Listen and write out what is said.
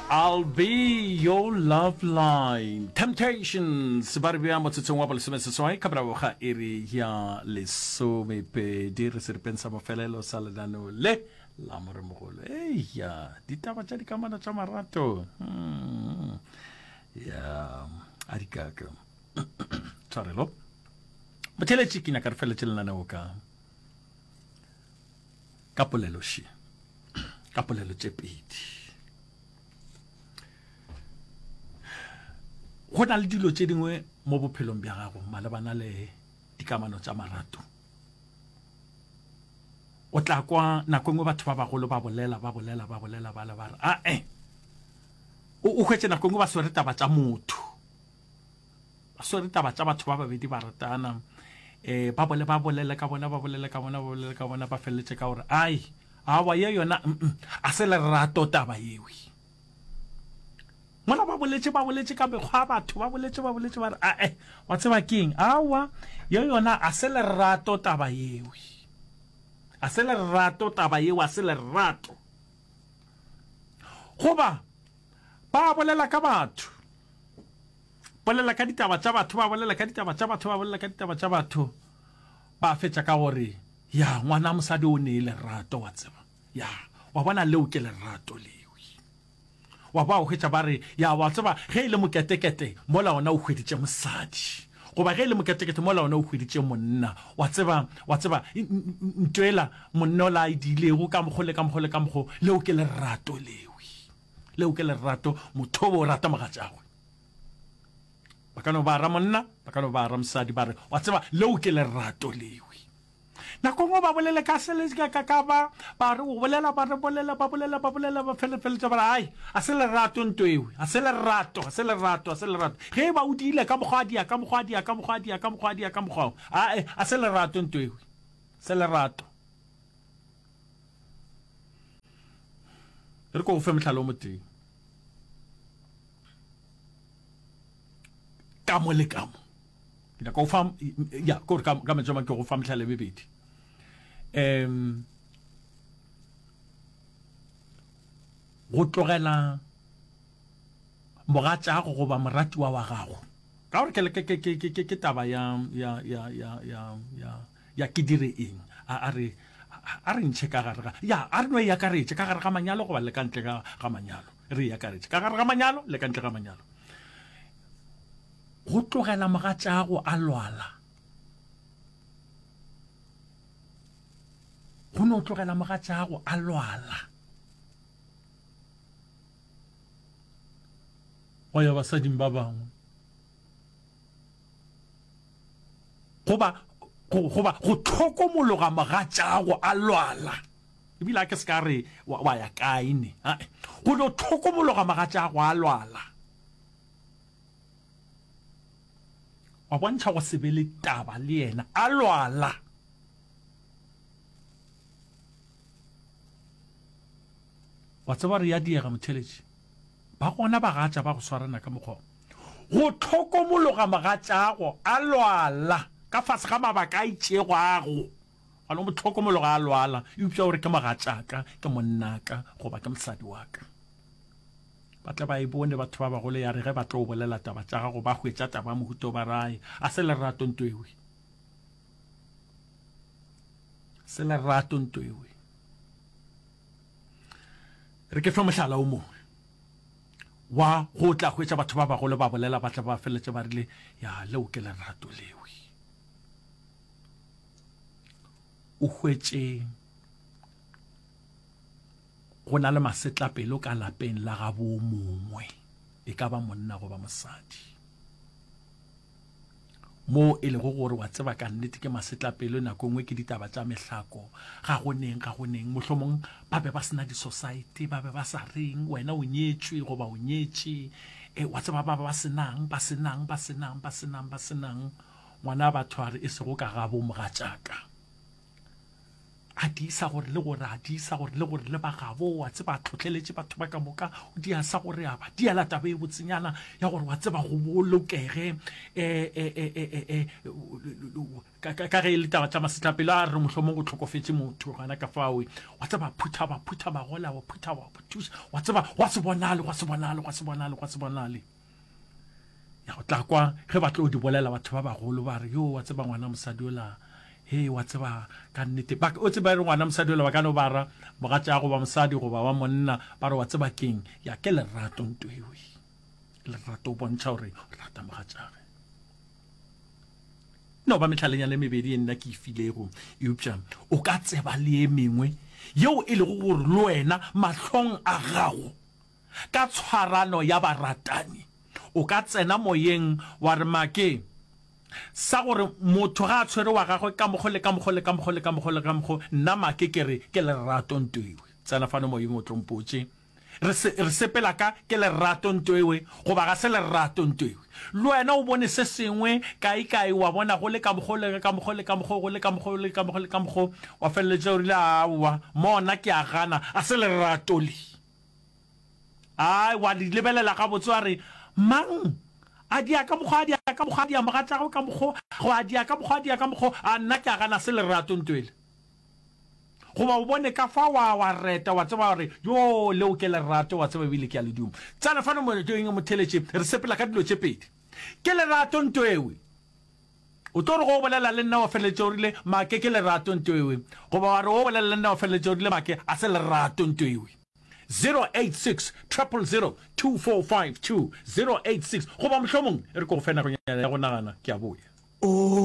I'll be your love line. Temptations ba re bea motsotsong wa bolesomeseswai ka morago ga iri ya lesomepedi re seripeng sa mafelelo sa lenaneo le la moremogolo. Eya, ditaba tša dikamano tša marato. Hmm. Ya, a di kaka. Tshwarelo. Motheletši ke nyaka re feletše lenaneo ka ka polelo še. Ka polelo tše pedi. Go na le dilo tše dingwe mo bophelong bja gago malebana le dikamano tša marato. O tla kwa nako e nngwe batho ba bagolo ba bolela, ba bolela, ba bolela, ba le ba re, ae. O, o hwetše nako e nngwe ba swere taba tša motho. Ba swere taba tša batho ba babedi ba ratana. Eh, ba bole ba bolele ka bona, ba bolele ka bona, ba bolele ka bona, ba feleletše ka gore, ai, awa ye yona, mm, a se lerato taba yewe. Mola ba boletše, ba boletše ka mekgwa ya batho, ba boletše, ba boletše, ba re, ae, wa tseba keng? Awa, ye yona a se lerato taba yewe. A se lerato taba yeo, a se lerato. Goba, ba bolela ka batho, bolela ka ditaba tša batho, ba bolela ka ditaba tša batho, ba bolela ka ditaba tša batho, ba fetša ka gore, ya, ngwana mosadi o nee lerato, wa tseba. Ya, wa bona leo ke lerato lewe. Wa ba o hwetša ba re, Ya, wa tseba, ge e le moketekete, mola ona o hweditše mosadi. Goba ge e le moketekete, mola ona o hweditše monna. Wa tseba, wa tseba, ntwela monna ola a e diilego ka mokgo le ka mokgo le ka mokgo, leo ke lerato lewe. Leo ke lerato, motho o rata mogatšagwe. Ba ka no ba ra monna, ba ka no ba ra mosadi, ba re, wa tseba, leo ke lerato lewe. Nako nngwe ba bolele ka se le ka ka ba ba re o bolela ba re bolela ba bolela ba bolela ba fele feletša ba re ai a se lerato nto ewe a se lerato a se lerato a se lerato ge e ba o diile ka mokgwa a dia ka mokgwa a dia ka mokgwa a dia ka mokgwa a dia ka mokgwa ae a se lerato nto ewe se lerato re ko go fe mohlala o motee ka mo le ka mo Ke nyaka go fa, ya, ke gore ka, ka mantšu a mang ke go fa mehlala e mebedi. Um, go tlogela mogatšago goba moratiwa wa gago ka gore ke, ke, ke, ke, ke, ke taba ya, ya, ya, ya, ya, ya, ya ke dire eng a, a re a re ntšhe ka gare ga ya a re no e akaretše ka gare ga manyalo goba le ka ntle ga, ga manyalo re e akaretše ka gare ga manyalo le ka ntle ga manyalo Go tlogela mogatšago a lwala. Go no tlogela mogatšago a lwala. Go ya basading ba bangwe. Goba goba go tlhokomologa mogatšago a lwala. Ebile a ke se ka re wa ya kae ne. Go no tlhokomologa mogatšago a lwala. Wa bontšha go se be le taba le yena a lwala. Wa tseba re ya diega motheletši. Ba gona bagatša ba go swarana ka mokgwa go tlhokomologa mogatšago a lwala ka fase ga mabaka a itšego a go gona mo tlhokomologa a lwala eupša o re ke mogatšaka ke monnaka goba ke mosadi wa ka. Ba tle ba e bone batho ba bagolo ya re ge ba tlo bolela taba tša gago ba hwetša taba ya mohuta o ba rae a se lerato nto ewe se lerato nto ewe re ke fe mohlala o mongwe wa go tla hwetša batho ba bagolo ba bolela ba tla ba feleletše ba rile ya leo ke lerato lewe o hwetše Go na le masetlapelo ka lapeng la gabo mongwe, e ka ba monna goba mosadi. Moo e lego gore wa tseba ka nnete ke masetlapelo, nako e nngwe ke ditaba tša mehlako, ga go neng, ga go neng, mohlomong ba be ba se na disosaete, ba be ba sa reng, wena o nyetšwe goba o nyetše, e, wa tseba ba ba se nang, ba se nang, ba se nang, ba se nang, ba se nang. Ngwana batho a re e sego ka gabo mogatšaka. A tiisa gore le gore a tiisa gore le gore le ba gabo, wa tseba, a tlhohleletše batho ba ka moka, o dia sa gore a ba diela taba e botsenyana ya gore wa tseba go bolokege e, e, e, e, e, e, ka, ka, ka ge e le taba tša masetlapelo a re mohlomong go hlokofetše motho gona ka fawe, wa tseba, phutha ba phutha magola, wa phutha wa thuša, wa tseba, gwa se bonale, gwa se bonale, gwa se bonale, gwa se bonale. Ya go tla kwa ge ba tlo di bolela batho ba bagolo ba re, yo wa tseba ngwana mosadi ola, he wa tseba ka nnete. Ba, o tseba re ngwana mosadi ola ba ka no ba ra mogatša goba mosadi goba wa monna ba re wa tseba keng, ya ke lerato nto ewe. Lerato o bontšha gore o rata mogatšage. No ba mehlalenyana e mebedi e nna ke e filego, eupša o ka tseba le e mengwe yeo e lego gore le wena mahlong a gago Ka tshwarano ya baratani, o ka tsena moyeng wa re make sa gore motho ga a tshwere wa gagwe ka mokgo le ka mokgo le ka mokgo le ka mokgo le ka mokgo, nna make ke re ke lerato ntoewe. Tsena fano moyeng o tlo mpotše. Re se, re sepela ka ke lerato ntoewe goba ga se lerato ntoewe. Le wena o bone se sengwe kae kae wa bona go le ka mokgo le ka mokgo le ka mokgo go le ka mokgo le ka mokgo le ka mokgo wa feleletša o rile aowa mona ke a gana a se lerato le. Ai, wa di lebelela gabotse wa re, Mang a dia ka mokgwa, a dia ka mokgwa, a dia mogatšagwe ka mokgo, go a dia ka mokgwa, a dia ka mokgo, a nna ke a gana se lerato ntwele. Goba o bone ka fa wa, wa reta, wa tseba gore, yoo, leo ke lerato, wa tseba ebile ke a le duma. Tsena fano mo, motheletše, re sepela ka dilo tše pedi. Ke lerato ntwewe. O tlo re go o bolela le nna wa feleletša o rile, Make ke lerato ntwewe. Goba wa re o bolela le nna wa feleletša o rile, Make a se lerato ntwewe. 086 000 2452 086 goba mohlomong e re ke go fe nakonyana ya go nagana, ke a boya. O.